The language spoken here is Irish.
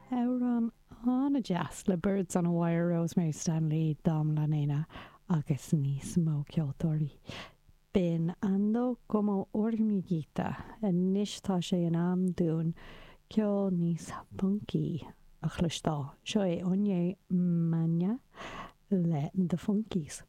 Amhrán an-deas le Birds on a Wire, Rosemary Stanley, Dom La Nena agus níos mó ceoltóirí. B'in Ando Como Hormiguita. Anois tá sé in am dúinn ceol níos funky a chloisteáil. Seo é Oye Maña le The Funkies.